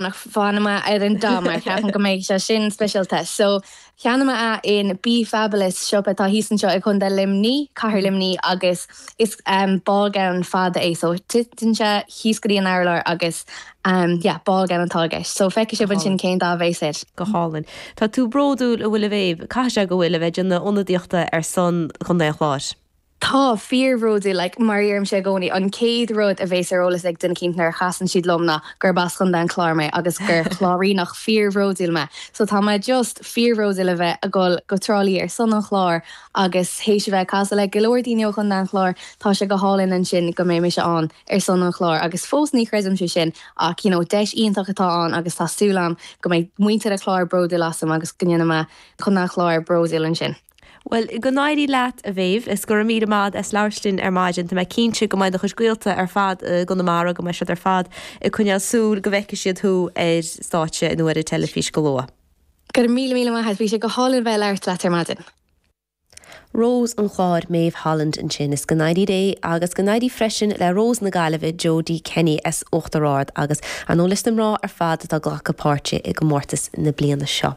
Ach fanfaidh mé ar an dath mar ceapaim go mbeidh sé sin speisialta. So, cheannaigh mé é in Be Fabulous, siopa atá thíos anseo i gContae Luimní, Cathair Luimní agus is ballgown fada é so titeann sé thíos go dtí an urlár agus yeah, ballgown atá i gceist. So feicfidh sibh ansin cén dath a bheas air. Go hálainn. Tá tú bródúil, an bhfuil a Mhéabh? Caithfidh sé go bhfuil, a bheith ag déanamh ionadaíochta ar son Chontae an Chláir. Tá, fíorbhródúil, like, mar a deirimse i gcónaí, an chéad rud a bhéas ar eolas ag duine eicínt nuair a chasann siad liom ná gurb as Chontae an Chláir mé agus gur Cláiríneach fíorbhródúil mé. So tá mé just fíorbhródúil a bheith ag dul go Trá Lí ar son an Chláir agus théis a bheith ag casadh le go leor daoine ó Chontae an Chláir, tá sé go hálainn ansin go mbeidh mise ann ar son an Chláir agus fós ní chreidimse sin ach you know deis iontach atá ann agus tá súil agam go mbeidh muintir an Chláir bródúil asam agus go ndéanfaidh mé Contae an Chláir bródúil ansin. Bhuel, go n-éirí leat, a Mhéabh, is go raibh míle maith agat as labhairt linn ar maidin. Tá mé cinnte go mbeidh do chuid gaolta ar fad i gConamara, go mbeidh siad ar fad ag coinneáil súil go bhfeicfidh siad thú ar stáitse nó ar an teilifís go luath. Go raibh míle míle maith agat, bhí sé go hálainn bheith ag labhairt leat ar maidin. Rós an Chláir, Maeve Holland ansin. Is go n-éirí léi agus go n-éirí freisin le Rós na Gaillimhe, Jodie Kenny as Uachtar Ard agus, ar ndóigh, leis na mná ar fad atá ag glacadh páirte i gcomórtas na bliana seo.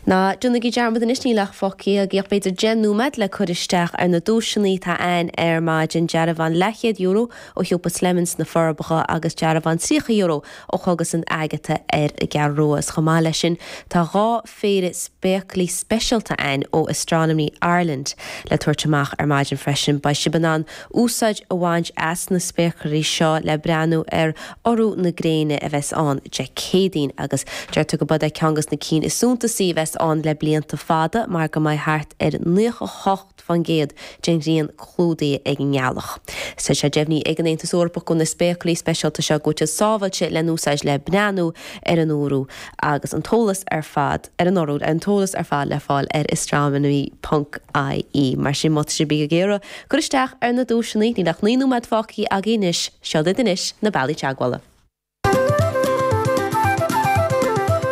Ná déanaigí dearmad anois, níl ach fágtha agaibh ach b'fhéidir 10 nóiméad le cur isteach ar na duaiseanna atá ann ar maidin, dearbhán leathchéad euro ó shiopa Slemons sna Forbacha agus dearbhán €30 ó Chógaslann Agatha ar an gCeathrú Rua. Is chomh maith leis sin tá 2 phéire spéaclaí speisialta ann ó Astronomy Ireland le tabhairt amach ar maidin freisin. Beidh sibh in ann úsáid a bhaint as na spéaclaí seo le breathnú ar urú na gréine a bheas ann Dé Céadaoin agus deirtear go mbeidh é ceann de na cinn is suntasaí a bheas ann le blianta fada mar go mbeidh thart ar 98% den ghrian clúdaithe ag an ngealach. Tá sé deimhnithe ag an Aontas Eorpach go bhfuil na spéaclaí speisialta seo go bhfuil siad sábháilte le n-úsáid le breathnú ar an urú agus an t-eolas ar fad ar an urú an t-eolas ar fad le fáil ar astronomy ponc ie. Mar sin má tá sibh ag iarraidh cur isteach ar na duaiseanna, níl ach 9 nóiméad fágtha againn anois, seo duit anois na bealaí teagmhála.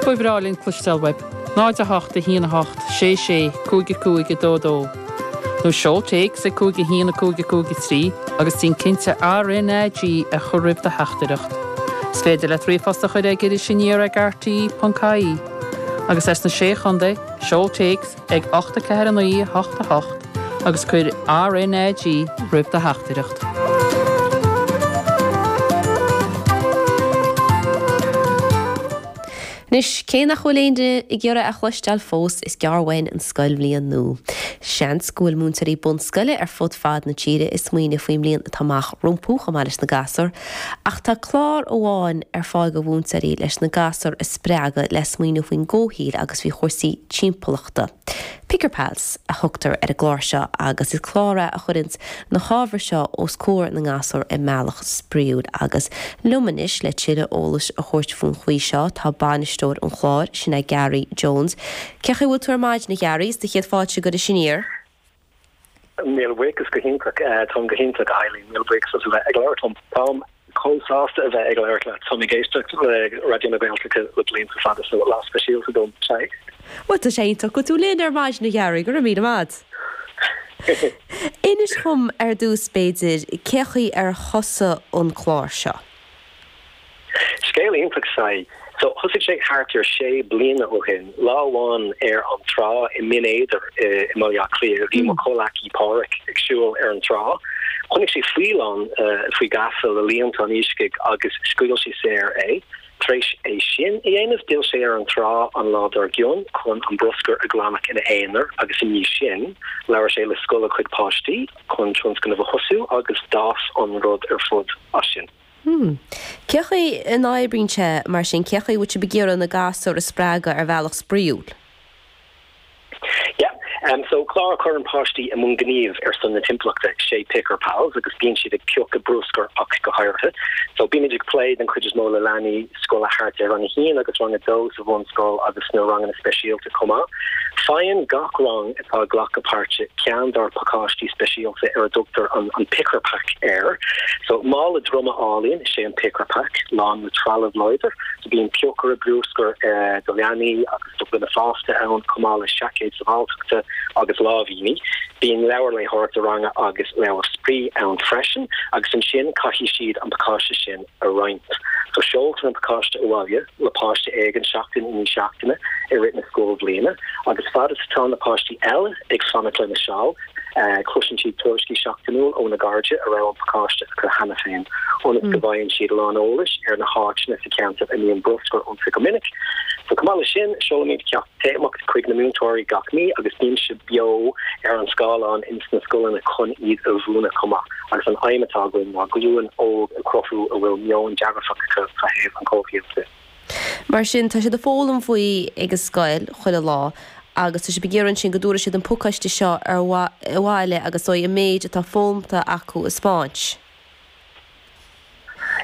Ba bhreá linn cloisteáil uaibh. 0 8 1 8 6 6 5 5 2 2 Nó seol téacs ag 5 1 5 5 3 agus déan cinnte RNAG a chur roimh do theachtaireacht. Is féidir leat ríomhphost a chur ag Iris Aniar ag rte.ie. Agus as na Sé Chontae, seol téacs ag 8 4 9 8 8 agus cuir RNAG roimh do theachtaireacht. Anois, cé nach bhfuil aon duine ag iarraidh a chloisteáil fós, is gearr uainn an scoilbhliain nua. Seans go bhfuil múinteoirí bunscoile ar fud fad na tíre ag smaoineamh faoin mbliain atá amach rompu, chomh maith leis na gasúir. Ach tá clár amháin ar fáil do mhúinteoirí leis na gasúir a spreagadh le smaoineamh faoin gcomhshaoil agus faoi chúrsaí timpeallachta. Picker Pals a thugtar ar an gclár seo agus is clár é a chuireanns na hábhair seo os comhair na ngasúr i mbealach spraíúil. Agus liom anois le tuilleadh eolais a thabhairt faoin chaoi seo tá bainisteoir an chláir, sin é Gary Jones. Cén chaoi a bhfuil tú ar maidin a Gharry? Is do chéad fáilte go Iris Aniar. Míle buíochas go hiontach. Táim go hiontach, a Eileen. Míle buíochas as a bheith ag labhairt liom. Táim chomh sásta a bheith ag labhairt leat. Táim ag éisteacht le Raidió na Gaeltachta le blianta fada so lá speisialta dom. Sea. Bhuel, tá sé iontach go bhfuil tú linn ar maidin, a Gharry. Go raibh míle maith. Inis dhom ar dtús, b'fhéidir, cé chaoi ar thosaigh an clár seo? Scéal iontach sea. So, thosaigh sé thart ar sé bliana ó shin. Lá amháin ar an trá i mBinn Éadair i mBaile Átha Cliath, bhí mo chomhleacaí Páraic ag siúl ar an trá. Chonaic sé faoileán faoi gheasa le líontán iascaigh agus scaoil sé saor é. Tar éis é sin a dhéanamh, d'fhill sé ar an trá an lá dár gcionn chun an bruscar a ghlanadh ina aonar agus i ndiaidh sin, labhair sé le scoil a chuid páistí chun tionscnamh a thosú agus d'fhás an rud ar fud as sin. Hmm. Cé chaoi a n-oibríonn sé mar sin? Cé chaoi a bhfuil sibh ag iarraidh na gasúir a spreagadh ar bhealach spraíúil? Yeah. Um, so clár a chuireann páistí i mbun gnímh ar son na timpeallachta sé Picker Pals agus bíonn siad ag piocadh bruscar ach go háirithe. So bímid ag plé den chuid is mó le leanaí scoile thart ar rang a haon agus rang a dó sa bhunscoil agus sna ranganna speisialta chomh maith. Faigheann gach rang atá ag glacadh páirte ceann dár bpacáistí speisialta ar a dtugtar an an Picker Pack air. So mála droma álainn is ea an Picker Pack, lán le trealamh láidir. So bíonn piocaire bruscair do leanaí agus do dhuine fásta ann, chomh maith le seaicéad sábháilteachta agus láimhíní. Bíonn leabhar léitheoireachta ranga agus leabhar spraoi ann freisin agus ansin caithfidh siad an pacáiste sin a roinnt. So seoltar an pacáiste abhaile le páiste éigin seachtain i ndiaidh seachtaine i rith na scoilbhliana agus fad is atá na páistí eile ag fanacht lena seal, Cloiseann siad tuairiscí seachtainiúil óna gcairde a raibh an pacáiste acu cheana féin, ionas go bhfaigheann siad a lán eolais ar na háiteanna sa cheantar a mbíonn bruscar iontu go minic. So chomh maith leis sin, seolaimid ceacht téamach chuig na múinteoirí gach mí agus bímse beo ar an scáileán ins na scoileanna chun iad a mhúineadh chomh maith. Agus an aidhm atá againn ná glúin óg a chruthú a bhfuil meon dearfach acu fá thaobh an chomhshaoil de. Mar sin, tá siad ag foghlaim faoi ag an scoil chuile lá agus tá sibh ag iarraidh ansin go dtabharfaidh siad an pacáiste seo ar abhaile agus dóigh an méid atá foghlamtha acu a 'spáint.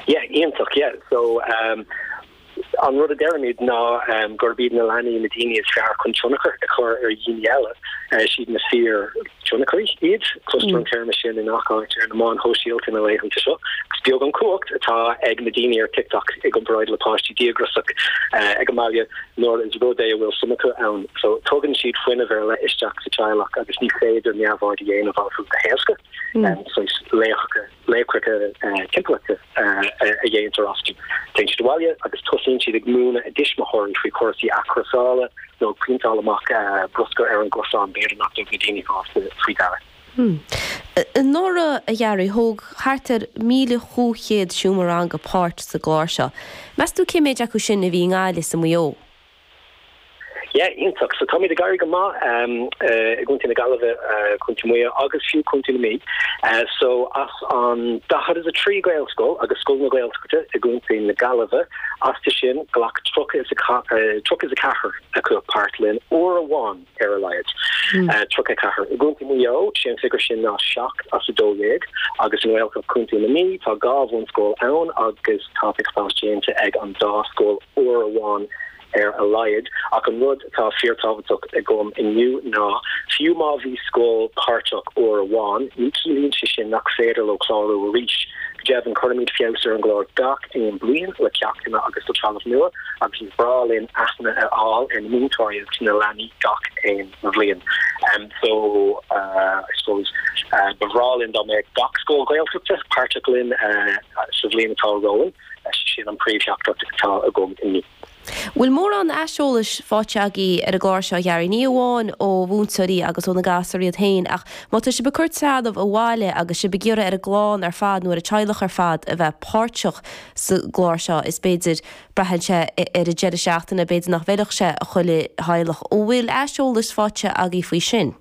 Yeah, iontach, yeah. So, um, an rud a deirimid ná um, gurb iad na leanaí na daoine is fearr chun tionchar a chur ar dhaoine eile, uh, siad na fíor tionchairí iad, cloistear an téarma sin i ngach áit ar na meáin shóisialta na laethanta seo. Is beag an cumhacht atá ag na daoine ar TikTok i gcomparáid le páistí díograiseach ag an mbaile nuair is rud é a bhfuil suim acu ann. So tugann siad fuinneamh ar leith isteach sa teaghlach agus ní féidir neamhaird a dhéanamh orthu go héasca. So laochra timpeallachta a dhéantar astu. Téann siad abhaile agus tosaíonn siad ag múineadh a dtuismitheoirí faoi chúrsaí athchúrsála nó ag pointeáil amach bruscar ar an gcosán, b'fhéidir nach dtug na daoine fásta faoi deara. Anuraidh, a Ghearaí, thóg thart ar 1,500 seomra ranga páirt sa gclár seo. Meas tú cé méid acu sin a bhí i nGaillimh is i Maigh Eo? Yeah, iontach. So táimid ag éirí go maith i gContae na Gaillimhe, Contae Mhaigh Eo agus fiú Contae na Mí. So as an 43 Gaelscoil agus Scoil na Gaeltachta i gContae na Gaillimhe, astu sin ghlac 34 acu páirt linn uair amháin ar a laghad. 34. I gContae Mhaigh Eo, sé an figiúr sin ná 7 as 12 agus i nGaeltacht Chontae na Mí tá dhá bhunscoil ann agus tá Pick Pals déanta ag an dá scoil uair amháin ar a laghad. Ach an rud atá fíortábhachtach agam inniu ná, fiú má bhí scoil páirteach uair amháin, ní chiallaíonn sé sin nach féidir leo clárú arís. Go deimhin, cuirimid feabhas ar an gclár gach aon bliain le ceachtanna agus le trealamh nua agus is breá linn aithne a fháil ar na múinteoirí agus na leanaí gach aon bhliain. So, I suppose, ba bhreá linn dá mbeadh gach scoil Ghaeltachta páirteach linn sa bhliain atá romhainn. Sin an príomhtheachtaireacht atá agam inniu. Bhfuil mórán aiseolais faighte agaibh ar an gclár seo, a Ghearaí, ní amháin ó mhúinteoirí agus ó na gasúir iad féin, ach má tá sibh ag cur trealamh abhaile agus sibh ag iarraidh ar an gclann ar fad nó ar an teaghlach ar fad a bheith páirteach sa gclár seo, is b'fhéidir, braitheann sé ar an deireadh seachtaine, b'fhéidir nach bhfeilfeadh sé do chuile theaghlach. An bhfuil aiseolas faighte agaibh faoi sin?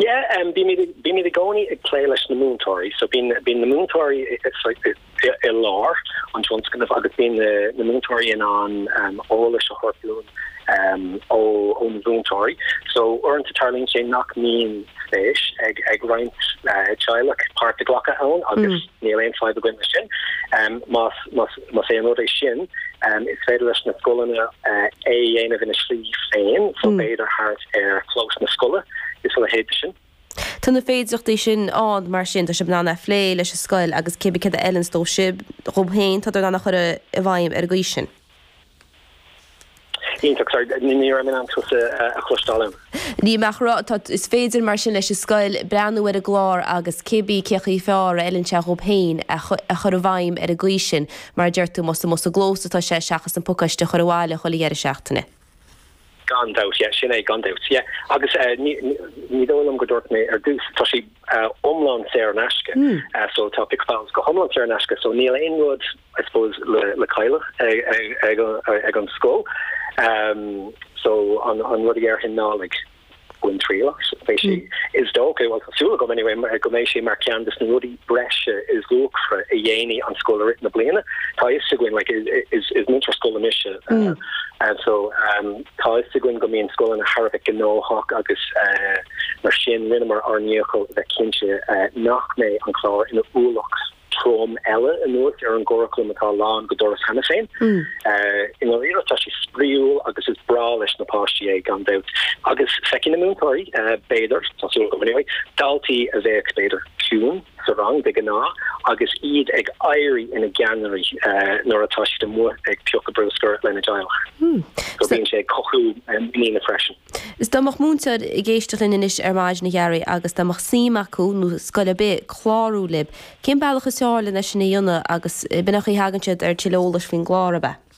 Yeah, um, bímid, bímid i gcónaí ag plé leis na múinteoirí, so bíonn, bíonn na múinteoirí i, i, i, i lár an tionscnaimh agus bíonn na, na múinteoirí in ann um, eolas a thabhairt dúinn um, ó, ó na múinteoirí. So uaireanta tarlaíonn sé nach mbíonn spéis ag, ag roinnt uh, teaghlach páirt a ghlacadh ann agus mm. níl aon fadhb againn leis sin. Um, más, más, más é an rud é sin, um, is féidir leis na scoileanna uh, é a dhéanamh ina slí féin, so mm. b'fhéidir thart ar chlós na scoile is a leithéid de sin. Tá na féidearthachtaí sin ann, mar sin, tá sibh in ann é a phlé leis an scoil agus cébí céard a fheileanns dóibh sib, dhóibh féin, tá in ann a chur i bhfeidhm ar an gcaoi sin. Iontach, sorry, ní raibh mé in ann tusa a chloisteáil ann. Ní mé ach rá, tá, is féidir mar sin leis an scoil breathnú ar an gclár agus cébí cé chaoi fearr a fheileann sé dhóibh féin a chur i bhfeidhm ar an gcaoi sin, mar a deir tú, más amuigh sa gclós atá sé seachas an pacáiste a chur abhaile chuile dheireadh seachtaine. Gan dabht, yeah, sin é, gan dabht, yeah. Agus ní, ní dóigh liom go dúirt mé ar dtús, tá sé iomlán saor in aisce, so tá Pick Pals go hiomlán saor in aisce, so níl aon rud, I suppose, le, le cailleadh ag, ag, ag an scoil. So an, an rud a dhéarfainn ná, like, bain triail as. Beidh sé, is dócha, bhuel tá súil agam anyway, go mbeidh sé mar cheann de na rudaí breise is luachmhaire a dhéanfaidh an scoil i rith na bliana. Tá a fhios againn, like, is, is múinteoir scoile mise, and so um, tá a fhios againn go mbíonn scoileanna thar a bheith gnóthach agus uh, mar sin rinneamar ár ndícheall a bheith cinnte uh, nach mbeidh an clár ina ualach trom eile anuas ar an gcuraclam atá lán go doras cheana féin. I ndáiríre tá sé spraíúil agus is breá leis na páistí é gan dabht. Agus feicfidh na múinteoirí, b'fhéidir, tá súil agam anyway, daltaí a bheadh b'fhéidir ciúin. sa rang de ghnáth agus iad ag éirí ina gceannairí nuair atá siad amuigh ag piocadh bruscair lena dteaghlach. So bíonn sé ag cothú muiníne freisin. Is dá mbeadh múinteoir ag éisteacht linn anois ar maidin a Ghearaí agus dá mbeadh suim acu, nó scoil ar bith, clárú libh, cén bealach is fearr lena sin a dhéanamh agus b'in an chaoi a thagann siad ar tuilleadh eolais faoin gclár, ab ea?